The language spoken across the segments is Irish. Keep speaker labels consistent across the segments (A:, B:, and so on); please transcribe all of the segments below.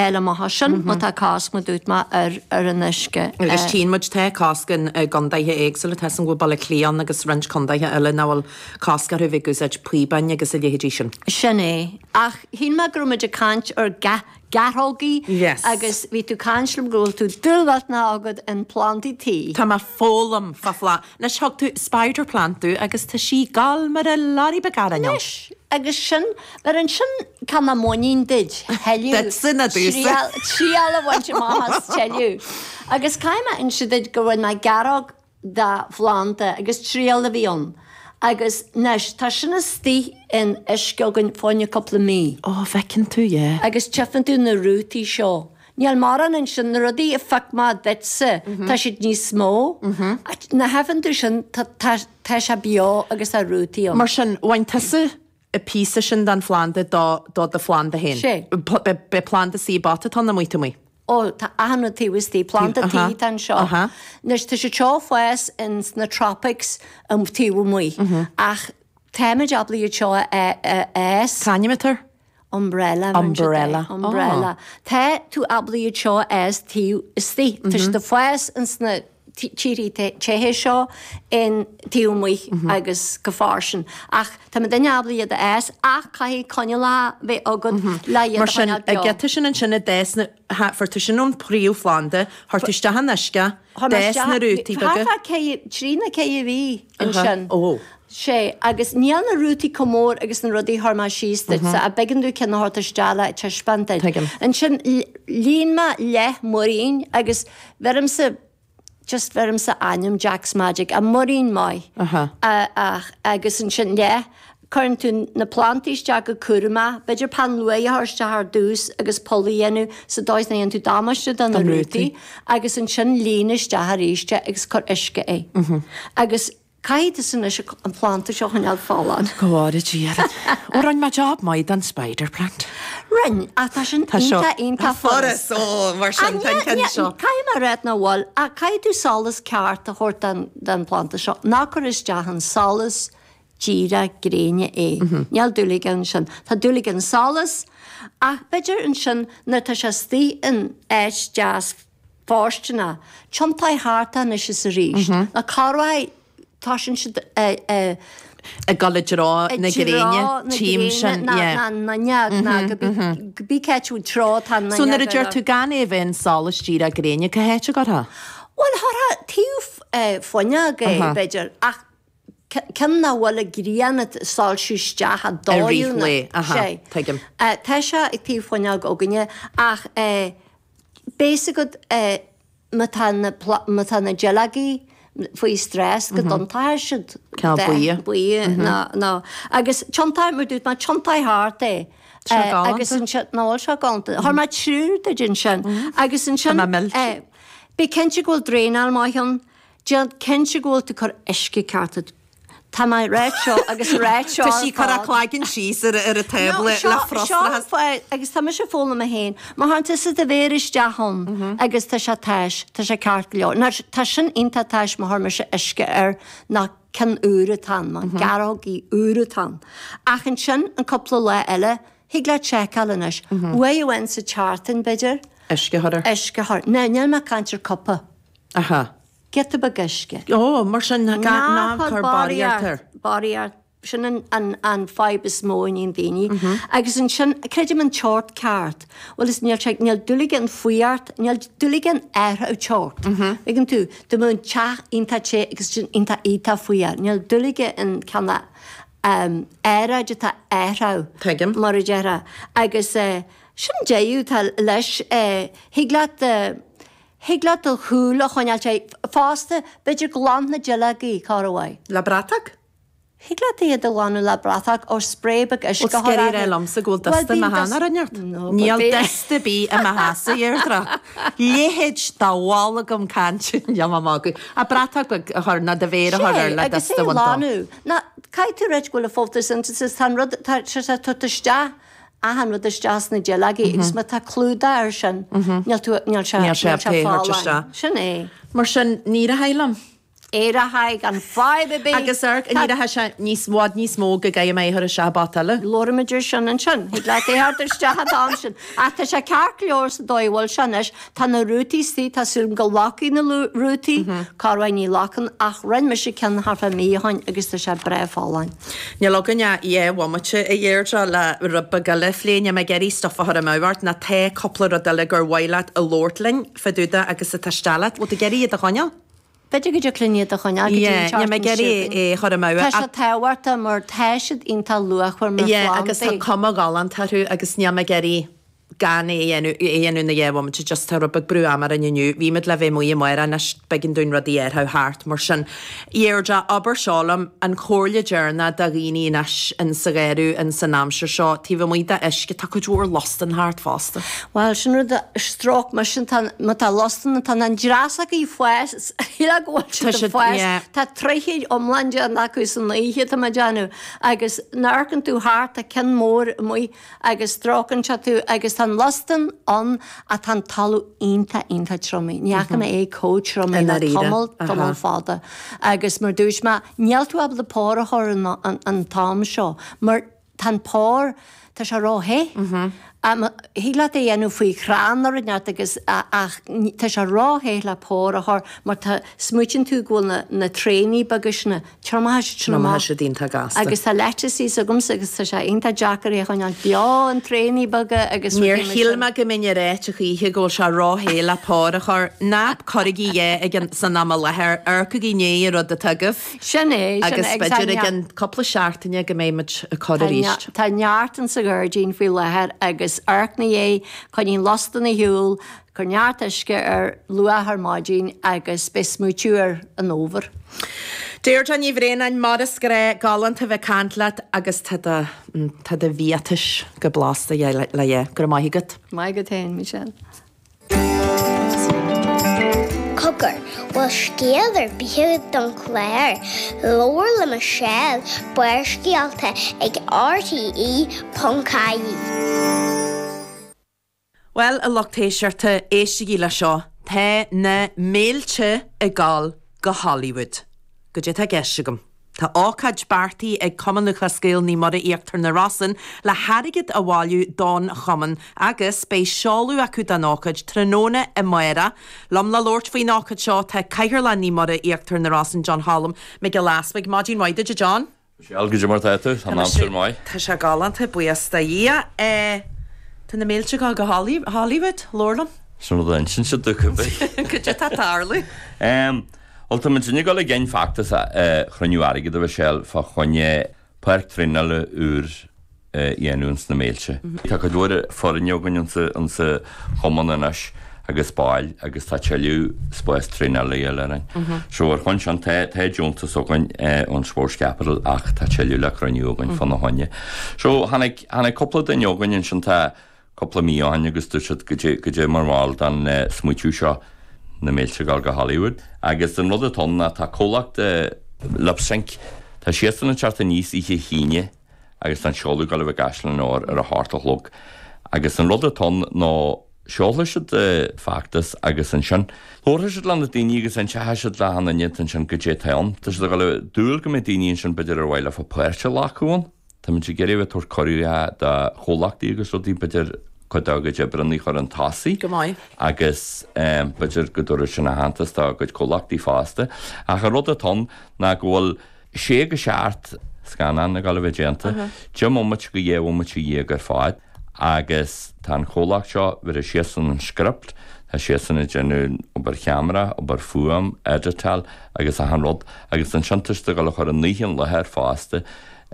A: fháil amach as sin má tá cosc mar dúirt mé ar ar an uisce.
B: Agus tchíonn muid tá cosc i gcondaetha éagsúla, tá 'fhios a'm go bhfuil Baile Átha Cliath ann agus roinnt condaetha eile nach bhfuil cosc orthu bheith ag úsáid píobáin agus a leithéidí sin.
A: Sin é. Ach shíl mé go raibh muid ag caint ar gearrthógaí
B: Yes.
A: agus bhí tú caint liom go bhfuil tú dúil mhillteanach agat in plandaí tí.
B: Tá mé foghlaim fá phla. Anois thug tú spider plant domh agus tá sí ag gabháil mar a lorry beag arainn ann.
A: Anois agus sin, mar ansin tá mé muinín duit, thuilleadh,
B: Duitse ná domhsa.
A: triail a bhaint amach as tuilleadh. Agus caithfidh mé inse duit go bhfuair mé gearrthóg de phlanda agus triail a bhí ann agus anois tá sin istigh in uisce againn fá choinne cúpla mí.
B: Ó, bhfeiceann tú, yeah.
A: Agus tchífeann tú na rútaí seo. Níl mórán ansin, na rudaí a phioc mé duitse, tá siad níos mó. Nach bhfeiceann tú sin, tá, tá, tá sé beo agus tá rútaí ann.
B: Mar sin, bhain tusa an píosa sin den phlanda do, do do phlanda féin.
A: Sé.
B: B'é planda sa bpota atá ann amuigh taobh amuigh.
A: Ó, tá achan rud taobh istigh, planda tí atá anseo. Anois, tá siad seo ag fás ins na tropics taobh amuigh, ach táimid ábalta iad seo a fhás.
B: C'ainm atá air?
A: Umbrella.
B: Umbrella.
A: Umbrella. Tá tú ábalta iad seo a fhás taobh istigh. Tá siad ag fás ins na tíorthaí te seo in taobh amuigh agus go fairsing. Ach tá muidinne ábalta iad a fhás ach caithfidh coinníollacha bheith agat le iad a
B: Mar sin,
A: choinneáil beo.
B: an giota sin ansin a d'fhás na, fuair tú sin ón príomhphlanda, chuir tú isteach in uisce,
A: Chuir mé
B: d'fhás
A: isteach,
B: na rútaí beaga.
A: thart fá ceithre, trí nó ceithre mhí ansin.
B: Ó.
A: Sé, agus níl na rútaí chomh mór agus na rudaí a chuir mé síos duitse, ach b'éigean domh ceann a thabhairt isteach le taispeáint duit.
B: Tuigim.
A: Ansin, líon mé leath muirín agus bheirimse, just bheirimse ainm Jack's Magic, a muirín maith. Ach, agus ansin leath, cuireann tú na plantaí isteach go cúramach, b'fhéidir peann luaidhe a chur isteach ar dtús agus poll a dhéanamh sa dóigh is nach ndéanann tú damáiste do na rútaí, agus ansin líon isteach arís é agus cuir uisce é. Agus Caithfidh tusa anois an planda seo a choinneáil folláin.
B: Go bhfóire Dia orainn. Ó, rinne mé job maith den spider plant.
A: Rinne, ach tá sin iontach, iontach
B: furast. Furast, ó, mar sin, tá an ceann seo.
A: Caithfidh mé a rá nach bhfuil, ach caithfidh tú solas ceart a thabhairt don phlanda seo. Ná cuir isteach an solas díreach gréine é. Níl dúil aige ansin. Tá dúil aige an solas, ach b'fhéidir ansin nuair atá sé istigh in áit deas fóirsteanach. Tiontaigh thart é anois is arís. Nó corruair toisíonn siad ag.
B: Ag dul i dtreo na gréine, tchím sin, yeah.
A: Na n-fhuinneog, ná cibé cá háit bhfuil treo atá an
B: So nuair a deir tú gan é a bheith in solas díreach gréine, cá háit a gcuirfeá?
A: Bhuel, chuirfeá taobh fuinneog é, b'fhéidir, ach ceann nach bhfuil an ghrian ag soilsiú isteach a
B: I rith
A: dóigh
B: lae, aha, tuigim.
A: Tá sé ag taobh fuinneog againne ach Beidh a fhios agat má tá na má tá na duilleogaí faoi stress go dtiontóidh siad
B: Cineál
A: buí nó nó agus tiontaigh mar dúirt mé tiontaigh thart é
B: Tá sé galánta.
A: agus ansin ná bhfuil sé galánta. Chuir mé triúr duit ansin agus ansin
B: Tá mé millte.
A: bí cinnte go bhfuil draenáil maith ann, déan cinnte go bhfuil tú ag cur uisce ceart Tá mé ag ráit seo agus ráit seo
B: Tá sí ag cur a cloigeann síos ar ar an tábla le frustrachas.
A: Seo agus tá mise ag foghlaim féin. Má théann tusa do mhéar isteach ann agus tá sé tais, tá sé ceart go leor. Now tá sin iontach tais má chuir mise uisce air ná ceann úr atá ann, má gearrthógaí úr atá ann. Ach ansin an cúpla lá eile, thig leat seiceáil anois. Uair amháin sa tseachtain b'fhéidir.
B: Uisce a chur air.
A: Uisce a chur. Now níl mé ag caint ar cupa.
B: Aha.
A: Giota beag uisce.
B: Ó, mar sin, ná cuir barraíocht air.
A: Barraíocht, sin an fadhb is mó a níonn daoine. Agus ansin, creidim an teocht ceart. Bhuel, is níl sé, níl dúil aige an fuireacht, níl dúil aige an athrú teocht. Tuigeann tú, dá mbeadh an teach iontach te agus sin iontach iontach fuar, níl dúil aige an cineál aeráid atá athrú.
B: Tuigim.
A: Mar a déarfá. Agus sin deireadh atá leis, thig leat, Thig leat do shúil a choinneáil te fosta, b'fhéidir glan na duilleogaí, corruair.
B: Le bratach?
A: Thig leat iad a ghlanadh le bratach ó spray beag uisce a
B: Bhuel,
A: chur
B: scary
A: orthu.
B: rá liomsa go bhfuil dusta i mo theanga ar neart. Níl dusta ar bith i mo theachsa, Dheirdre. Leithéid de bhall agam cainte, níl mé ag magadh. Ach bratach beag a chur, nó do mhéar a chur air
A: Sé,
B: le
A: agus
B: dusta
A: é
B: a
A: a
B: bhaint dó.
A: ghlanadh. Ná, caithfidh tú ráit go bhfuil an photosynthesis, tá an rud, tá sé ag tabhairt isteach achan rud isteach sna duilleogaí agus má tá clúdach air sin, níl tú, níl sé,
B: Níl sé
A: níl sé
B: pé thabhairt
A: folláin.
B: isteach.
A: Sin é.
B: Mar sin, ní rachaidh liom.
A: Éireoidh gan fadhb ar bith.
B: Agus amharc, an éireoidh sé níos, bhfad níos mó go gcaithfidh mé é a chur isteach i bpota eile.
A: Labhróimid ar sin ansin. Thig leat é a thabhairt isteach an t-am sin. Ach tá sé ceart go leor sa dóigh a bhfuil sé anois. Tá na rútaí istigh, tá súil agam go locfaidh na rútaí, corruair ní locann, ach rinne mise ceann thart fá mí ó shoin agus tá sé breá folláin.
B: Níl againn ach dhá bhomaite, a Dheirdre, le rud beag eile a phlé. Níl mé ag iarraidh stuif a chur amú ort, nó tá cúpla rud eile gur mhaith leat a labhairt linn fá dtaobh de agus atá isteach leat. Bhfuil tú ag iarraidh iad a choinneáil?
A: B'fhéidir go dtiocfadh linn iad a choinneáil go dtí an
B: Yeah, níl mé
A: tseachtain
B: ag iarraidh
A: seo
B: é a chur amú.
A: Tá sé tábhachtach mar tá siad iontach luachmhar mar
B: Yeah, agus tá
A: phlandaí.
B: cuma ghalánta orthu agus níl mé ag iarraidh gan é a dhéanamh, é a dhéanamh ina dhá bhomaite, just tá rud beag brú ama orainn inniu. Bhí muid le bheith amuigh amárach anois, b'éigean dúinn rudaí a athrú thart, mar sin. Deirdre, abair seo liom, an chomhairle deireanach do dhaoine anois in sa gheimhreadh, in san aimsir seo, taobh amuigh de uisce, tá cuid mhór lustan thart fosta.
A: Bhuel, sin rud a stróic mise, tá, má tá lustan, tá na dreasachaí ag fás, shílfeá go bhfuil siad ag fás, tá troitheadh iomlán déanta acu san oíche, tá mé ag déanamh, agus nuair a amharcann tú thart, tá ceann mór amuigh agus stróiceann sé tú agus tá an lustan ann ach tá an talamh iontach, iontach triomaithe. Ní fhaca mé é chomh triomaithe le tamall, tamall fada. Agus mar dúirt mé, níl tú ábalta pár a chur an t-am seo mar tá an pár, tá sé ró-the. Thig leat é a dhéanamh faoi chrann nó rud inteacht agus ach tá sé ró-the le pár a chur mar tá, smaoitíonn tú go bhfuil na, na tréanaí beaga sin, Triomaíonn siad sin amach.
B: Triomaíonn siad iontach gasta.
A: Agus tá leiteas thíos agamsa agus tá sé iontach deacair é a choinneáil beo, an tréanaí beaga agus
B: Níor rudaí mar shíl sin. mé go mbeinn ag ráit a choíche go bhfuil sé ró-the le pár a chur. Ná cuirigí é ag an, san am i láthair, amharcaigí i ndiaidh an rud atá agaibh.
A: Sin é, sin
B: Agus
A: é, agus tá
B: b'fhéidir i gceann cúpla seachtaine go mbeidh muid ag cur
A: Tá
B: arís.
A: tá neart in sa ghairdín faoi láthair agus amharc ina dhiaidh, coinnigh an lustan ar shiúl, Cuir neart uisce air luath ar maidin agus beidh smaoitiú ar an fhómhar.
B: Deirdre Ní Bhraonáin, mar is gnách, galánta bheith ag caint leat agus tá do, tá do bhiatais go blasta le dh'ithe. Go raibh maith agat.
A: Maith agat féin, Michelle.
C: Cogar, bhfuil scéal ar bith agat don chlár? Labhair le Michelle, Barrscéalta ag RTE.ie.
B: Bhuel, a lucht éisteachta, éistigí le seo, tá na mílte ag gabháil go Hollywood. Goidé atá i gceist agam? Tá ócáid beartaithe ag Cumann Lúthchleas Gael Naomh Muire Íochtar na Rosann le hairgead a bhailiú don chumann agus beidh seoladh acu don ócáid tráthnóna amárach. Liom le labhairt faoin ócáid seo tá Cathaoirleach Naomh Muire Íochtar na Rosann, John Cholm Mac Giolla Easbuig. Maidin mhaith duit, a John.
D: Michelle, goidé mar tá tú? Tá an aimsir maith.
B: Tá sé galánta, buíochas do Dhia. Tá na mílte ag gabháil go Hollywood, labhair liom.
D: Sin rud a insíonn siad domh cibé.
B: Goidé atá ag tarlú?
D: Bhuel, tá muid ag dul i gcionn feachtas a chruinniú airgid a Mhichelle fá choinne páirc traenála úr a dhéanamh ins na Méilte. Tá cuid mhór foirne againn insa chumann anois agus baill agus tá tuilleadh spás traenála a dhíobháil orainn. So ar shon sin tá tá deontas againn ón Sports Capital ach tá tuilleadh le cruinniú againn fána choinne. So tháinig tháinig cúpla duine chugainn ansin tá cúpla mí ó shin agus dúirt siad goidé goidé mar bhall den smaoitiú seo na mílte ag dul go Hollywood. Agus an rud atá ann ná tá comhlacht Lip Sync tá siadsan ag teacht aníos oíche hAoine agus tá an seoladh ag dul a bheith i gCaisleán an Óir ar a hocht a chlog. Agus an rud atá ann ná seolfaidh siad feachtas agus ansin labharfaidh siad le na daoine agus inseoidh siad le achan duine ansin goidé atá ann. Tá siad ag dul a dúil go mbeidh daoine ansin b'fhéidir ar mhaith leofa páirt a ghlacadh ann. Táimid ag iarraidh a bheith ag tabhairt cuireadh do chomhlachtaí agus rudaí b'fhéidir cuid dá gcuid oibreanna a chur chun tosaigh.
B: Go maith.
D: Agus b'fhéidir go dtabharfaidh sin aitheantas dá gcuid comhlachtaí fosta. Ach an rud atá ann ná go bhfuil sé go seacht scannán ag dul a bheith déanta, 10 mbomaite go 12 bhomaite ar fad, agus tá an chomhlacht seo, bhéarfaidh siadsan an script, tá siadsan ag déanamh obair cheamara, obair fuaim, editeáil agus achan rud, agus ansin tá siad ag dul a chur an oíche i láthair fosta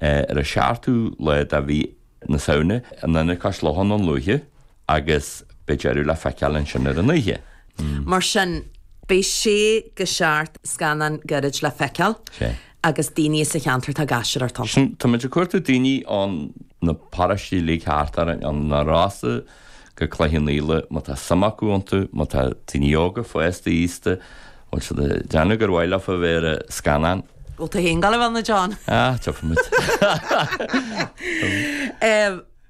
D: ar an seachtú lá de mhí na Samhna in Ionad Cois Locha i nDún Lúiche agus beidh deireadh le feiceáil ansin ar an oíche.
B: Mar sin, beidh sé go seacht scannán gairid le feiceáil agus daoine sa cheantar atá ag aisteoireacht ann.
D: Sin, táimid ag cuartú daoine ó na paróistí uilig thart orainn, ó na Rosa go Cloich Cheann Fhaola, má tá suim acu iontu, má tá daoine óga, fásta, aosta, bhfuil siad ag déanamh gur mhaith leofa bheith ar an scannán.
B: Bhfuil tú féin ag gabháil a bheith ann, a John?
D: Ah, tiocfaidh muid.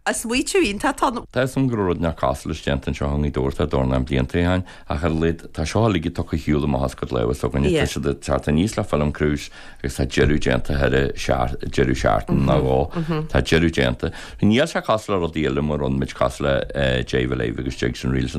B: Smaoitiú iontach atá ann.
D: Tá 'fhios a'm go raibh rud inteacht cosúil leis déanta anseo i nGaoth Dobhair tá dornán blianta ó shin ach ar a laghad tá seo uilig tugtha ar shiúl amach as cuid lámha s'againne. Tá siad ag teacht aníos le film crews agus tá deireadh déanta thar deireadh seachtaine nó dhó. Tá deireadh déanta. Níl sé cosúil le rudaí eile mar a rinne muid cosúil le Jive Alive agus Jigs and Reels.